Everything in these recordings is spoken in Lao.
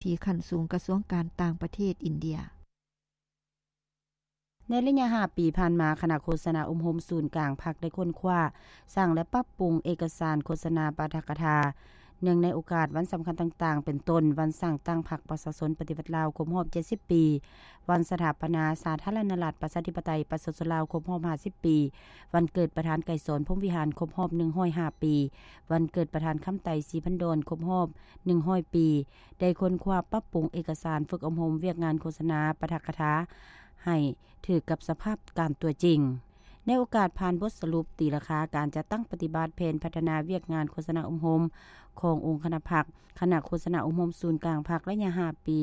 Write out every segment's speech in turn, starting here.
ທີ່ຂັ້ນສູງກະຊວງການຕ່າງປະເທດອິນເດຍ. ໃນໄລຍະຫ້າປີຜ່ານມາ, ຄະນະໂຄສະນາອົບຮົມສູນກາງພັກໄດ້ຄົ້ນຄວ້າ, ສ້າງ ແລະ ປັບປຸງເອກະສານໂຄສະນາປາຖະກະຖາ ເນື່ອງໃນໂອກາດວັນສຳຄັນຕ່າງໆ ເປັນຕົ້ນ ວັນສ້າງຕັ້ງພັກປະຊາຊົນປະຕິວັດລາວຄົບຮອບເຈັດສິບປີ, ວັນສະຖາປະນາສາທາລະນະລັດ ປະຊາທິປະໄຕ ປະຊາຊົນລາວຄົບຮອບຫ້າສິບປີ, ວັນເກີດປະທານໄກສອນ ພົມວິຫານ ຄົບຮອບໜຶ່ງຮ້ອຍຫ້າປີ, ວັນເກີດປະທານຄຳໄຕ ສີພັນດອນ ຄົບຮອບໜຶ່ງຮ້ອຍປີ, ໄດ້ຄົ້ນຄວ້າປັບປຸງເອກະສານຝຶກອົບຮົມວຽກງານໂຄສະນາປາຖະກະຖາໃຫ້ຖືກກັບສະພາບການຕົວຈິງ. ໃນໂອກາດຜ່ານບົດສະຫຼຸບຕີລາຄາການຈັດຕັ້ງປະຕິບັດແຜນພັດທະນາວຽກງານໂຄສະນາອົບຮົມຂອງອົງຄະນະພັກ, ຄະນະໂຄສະນາອົບຮົມສູນກາງພັກໄລຍະຫ້າປີ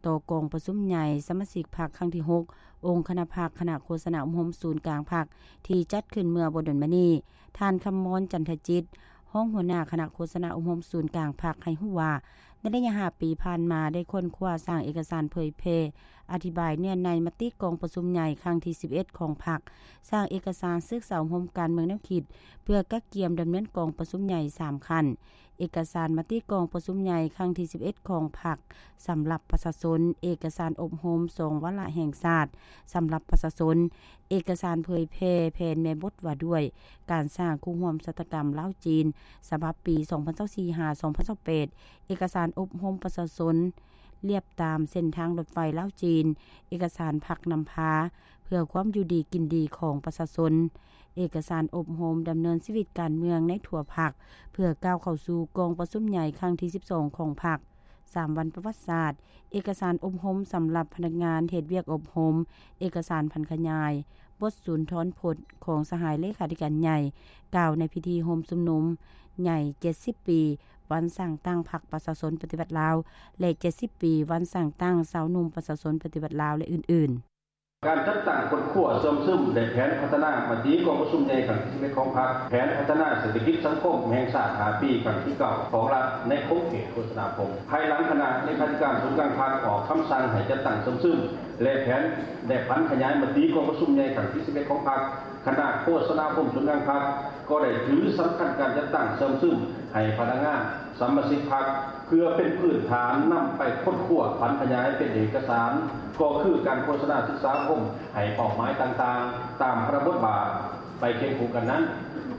ຕໍ່ກອງປະຊຸມໃຫຍ່ສະມາຊິກພັກຄັ້ງທີຫົກ ອົງຄະນະພັກ, ຄະນະໂຄສະນາອົບຮົມສູນກາງພັກ ທີ່ຈັດຂຶ້ນເມື່ອບໍ່ດົນມານີ້, ທ່ານ ຄຳມອນ ຈັນທະຈິດ, ຮອງຫົວໜ້າຄະນະໂຄສະນາອົບຮົມສູນກາງພັກ ໃຫ້ຮູ້ວ່າ ໃນໄລຍະຫ້າປີຜ່ານມາ ໄດ້ຄົ້ນຄວ້າສ້າງເອກະສານເຜີຍແຜ່ອະທິບາຍເນື້ອໃນມະຕິກອງປະຊຸມໃຫຍ່ຄັ້ງທີສິບເອັດຂອງພັກ, ສ້າງເອກະສານສຶກສາອົບຮົມການເມືອງແນວຄິດ ເພື່ອກະກຽມດຳເນີນກອງປະຊຸມໃຫຍ່ສາມຂັ້ນ, ເອກະສານມະຕິກອງປະຊຸມໃຫຍ່ຄັ້ງທີສິບເອັດຂອງພັກສຳລັບປະຊາຊົນ, ເອກະສານອົບຮົມສອງວາລະແຫ່ງຊາດສຳລັບປະຊາຊົນ, ເອກະສານເຜີຍແຜ່ແຜນແມ່ບົດວ່າດ້ວຍການສ້າງຄູ່ຮ່ວມຊະຕາກຳລາວ-ຈີນ ສະບັບປີສອງພັນຊາວສີ່ຫາສອງພັນຊາວແປດ, ເອກະສານອົບຮົມປະຊາຊົນລຽບຕາມເສັ້ນທາງລົດໄຟລາວ-ຈີນ, ເອກະສານພັກນຳພາເພື່ອຄວາມຢູ່ດີກິນດີຂອງປະຊາຊົນ, ເອກະສານອົບຮົມດຳເນີນຊີວິດການເມືອງໃນທົ່ວພັກ ເພື່ອກ້າວເຂົ້າສູ່ກອງປະຊຸມໃຫຍ່ຄັ້ງທີສິບສອງຂອງພັກ, ສາມວັນປະຫວັດສາດ, ເອກະສານອົບຮົມສຳລັບພະນັກງານເຮັດວຽກອົບຮົມ, ເອກະສານຜັນຂະຫຍາຍບົດສູນທອນພົດຂອງສະຫາຍເລຂາທິການໃຫຍ່ ກ່າວໃນພິທີໂຮມຊຸມນຸມໃຫຍ່ເຈັດສິບປີ ວັນສ້າງຕັ້ງພັກປະຊາຊົນປະຕິວັດລາວ ແລະ ເຈັດສິບປີ ວັນສ້າງຕັ້ງຊາວໜຸ່ມປະຊາຊົນປະຕິວັດລາວ ແລະ ອື່ນໆ. ການຈັດຕັ້ງຄົ້ນຄວ້າເຊື່ອມຊຶມ ແລະ ແຜນພັດທະນາມະຕິກອງປະຊຸມໃຫຍ່ຄັ້ງທີສິບເອັດຂອງພັກ, ແຜນພັດທະນາເສດຖະກິດສັງຄົມແຫ່ງຊາດຫ້າປີຄັ້ງທີເກົ້າຂອງລັດ ໃນຂົງເຂດໂຄສະນາຄົມ. ພາຍຫຼັງຄະນະເລຂາທິການສູນກາງພັກອອກຄຳສັ່ງໃຫ້ຈັດຕັ້ງເຊື່ອມຊຶມ ແລະ ແຜນ ແລະ ຜັນຂະຫຍາຍມະຕິກອງປະຊຸມໃຫຍ່ຄັ້ງທີສິບເອັດຂອງພັກ, ຄະນະໂຄສະນາຄົມສູນກາງພັກກໍໄດ້ຖືສຳຄັນການຈັດຕັ້ງເຊື່ອມຊຶມໃຫ້ພະນັກງານ ສະມາຊິກພັກ ເພື່ອເປັນພື້ນຖານນຳໄປຄົ້ນຄວ້າຜັນຂະຫຍາຍເປັນເອກະສານ, ກໍຄືການໂຄສະນາສຶກສາອົບຮົມໃຫ້ເປົ້າໝາຍຕ່າງໆ ຕາມພາລະບົດບາດ. ໄປຄຽງຄູ່ກັນນັ້ນ,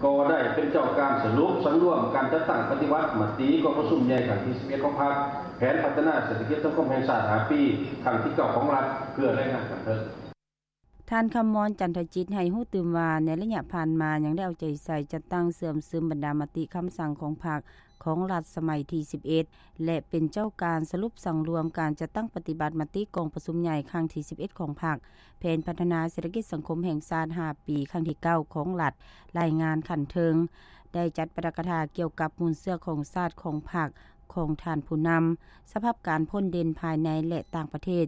ກໍໄດ້ເປັນເຈົ້າການສະຫຼຸບສັງລວມການຈັດຕັ້ງປະຕິບັດມະຕິກອງປະຊຸມໃຫຍ່ຄັ້ງທີສິບເອັດຂອງພັກ, ແຜນພັດທະນາເສດຖະກິດສັງຄົມແຫ່ງຊາດຫ້າປີ ຄັ້ງທີເກົ້າຂອງລັດ ເພື່ອລາຍງານຂັ້ນເທິງ. ທ່ານ ຄຳມອນ ຈັນທະຈິດ ໃຫ້ຮູ້ຕື່ມວ່າ ໃນໄລຍະຜ່ານມາຍັງໄດ້ເອົາໃຈໃສ່ຈັດຕັ້ງເຊື່ອມຊຶມບັນດາມະຕິຄຳສັ່ງຂອງພັກ, ຂອງລັດສະໄໝທີສິບເອັດ ແລະ ເປັນເຈົ້າການສະຫຼຸບສັງລວມການຈັດຕັ້ງປະຕິບັດມະຕິກອງປະຊຸມໃຫຍ່ຄັ້ງທີສິບເອັດຂອງພັກ, ແຜນພັດທະນາເສດຖະກິດສັງຄົມແຫ່ງຊາດຫ້າປີ ຄັ້ງທີເກົ້າຂອງລັດ, ລາຍງານຂັ້ນເທິງ, ໄດ້ຈັດປາຖະກະຖາກ່ຽວກັບມູນເຊື້ອຂອງຊາດຂອງພັກ, ຂອງທ່ານຜູ້ນຳ, ສະພາບການພົ້ນເດັ່ນພາຍໃນ ແລະ ຕ່າງປະເທດ,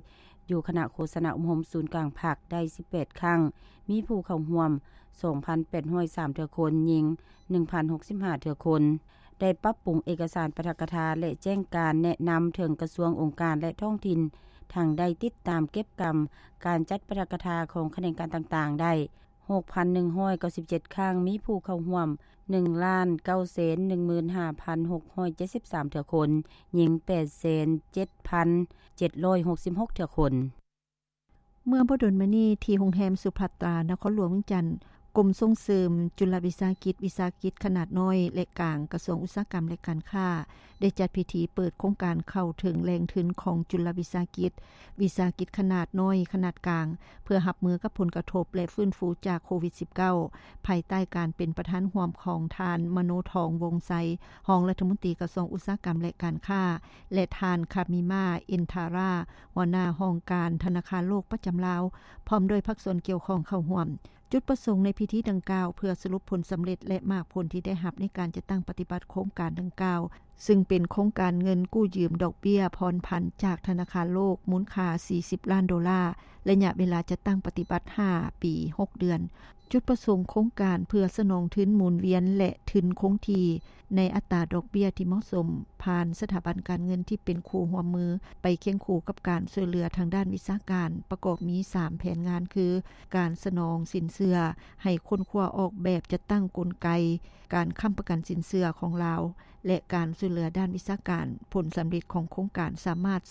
ຢູ່ຄະນະໂຄສະນາອົບຮົມສູນກາງພັກໄດ້ສິບແປດຄັ້ງ, ມີຜູ້ເຂົ້າຮ່ວມສອງພັນແປດຮ້ອຍສາມເທື່ອຄົນ, ຍິງໜຶ່ງພັນຫົກສິບຫ້າເທື່ອຄົນ. ໄດ້ປັບປຸງເອກະສານປາຖະກະຖາ ແລະ ແຈ້ງການແນະນຳເຖິງກະຊວງ, ອົງການ ແລະ ທ້ອງຖິ່ນ, ທັງໄດ້ຕິດຕາມເກັບກຳການຈັດປາຖະກະຖາຂອງຂະແໜງການຕ່າງໆໄດ້ ຫົກພັນໜຶ່ງຮ້ອຍເກົ້າສິບເຈັດຄັ້ງ, ມີຜູ້ເຂົ້າຮ່ວມໜຶ່ງລ້ານເກົ້າແສນໜຶ່ງໝື່ນຫ້າພັນຫົກຮ້ອຍເຈັດສິບສາມເທື່ອຄົນ, ຍິງແປດແສນເຈັດພັນເຈັດຮ້ອຍຫົກສິບຫົກເທື່ອຄົນ. ເມື່ອບໍ່ດົນມານີ້, ທີ່ໂຮງແຮມສຸພັດຕາ ນະຄອນຫຼວງວຽງຈັນ, ກົມສົ່ງເສີມຈຸລະວິສາຫະກິດ, ວິສາຫະກິດຂະໜາດນ້ອຍ ແລະ ກາງ, ກະຊວງອຸດສາຫະກຳ ແລະ ການຄ້າ ໄດ້ຈັດພິທີເປີດໂຄງການເຂົ້າເຖິງແຫຼ່ງທຶນຂອງຈຸລະວິສາຫະກິດ, ວິສາຫະກິດຂະໜາດນ້ອຍ, ຂະໜາດກາງ ເພື່ອຮັບມືກັບຜົນກະທົບ ແລະ ຟື້ນຟູຈາກໂຄວິດສິບເກົ້າ ພາຍໃຕ້ການເປັນປະທານຮ່ວມຂອງທ່ານ ມະໂນທອງ ວົງໄຊ ຮອງລັດຖະມົນຕີກະຊວງອຸດສາຫະກຳ ແລະ ການຄ້າ ແລະ ທ່ານ ຄາມິມາ ເອັນທາຣາ ຫົວໜ້າຫ້ອງການທະນາຄານໂລກປະຈຳລາວ ພ້ອມດ້ວຍພາກສ່ວນກ່ຽວຂ້ອງເຂົ້າຮ່ວມ. ຈຸດປະສົງໃນພິທີດັ່ງກ່າວ ເພື່ອສະຫຼຸບຜົນສຳເລັດ ແລະ ໝາກຜົນທີ່ໄດ້ຮັບໃນການຈັດຕັ້ງປະຕິບັດໂຄງການດັ່ງກ່າວ, ຊຶ່ງເປັນໂຄງການເງິນກູ້ຢືມດອກເບ້ຍຜ່ອນຜັນຈາກທະນາຄານໂລກ ມູນຄ່າສີ່ສິບລ້ານໂດລາ, ໄລຍະເວລາຈັດຕັ້ງປະຕິບັດຫ້າປີຫົກເດືອນ. ຈຸດປະສົງໂຄງການເພື່ອສະໜອງທຶນໝູນວຽນ ແລະ ທຶນຄົງທີ່ໃນອັດຕາດອກເບ້ຍທີ່ເໝາະສົມ, ຜ່ານສະຖາບັນການເງິນທີ່ເປັນຄູ່ຮ່ວມມືໄປຄຽງຄູ່ກັບການຊ່ວຍເຫຼືອທາງດ້ານວິຊາການ, ປະກອບມີສາມແຜນງານ ຄື ການສະໜອງສິນເຊື່ອ, ໃຫ້ຄົ້ນຄວ້າອອກແບບຈັດຕັ້ງກົນໄກການຄ້ຳປະກັນສິນເຊື່ອຂອງລາວ, ແລະ ການຊ່ວຍເຫຼືອດ້ານວິຊາການ. ຜົນສຳເລັດຂອງໂຄງການສາມາດສັ